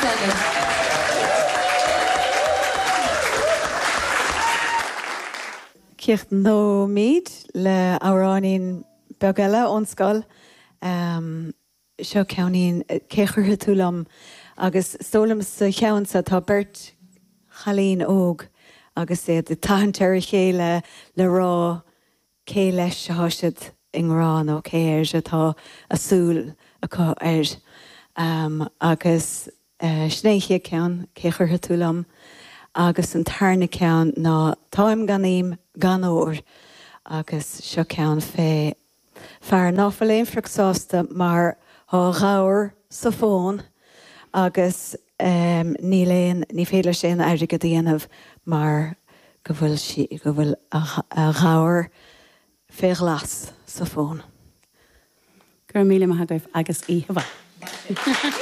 Splendid. Críochnóimid le amhráinín beag eile ón scoil. Seo ceainnín, Cé Chuirfidh Tú Liom? Agus is dóigh liom sa cheann seo tá beirt chailín óg agus iad ag tathant ar a chéile le rá cé leis atá siad i ngrá nó cé air atá a súil acu air. Agus sin é an chéad ceann, Cé Chuirfidh Tú Liom? Agus an tarna ceann ná Táim gan ím gan ór agus seo ceann fé Fear ná fuil aon phioc sásta mar thá a ghabhar sa phóin agus níl aon, ní féidir leis aon airgead a dhéanamh mar go bhfuil sí, go bhfuil a ghabhar fé ghlas sa phóin. Go raibh míle maith agaibh agus oíche mhaith.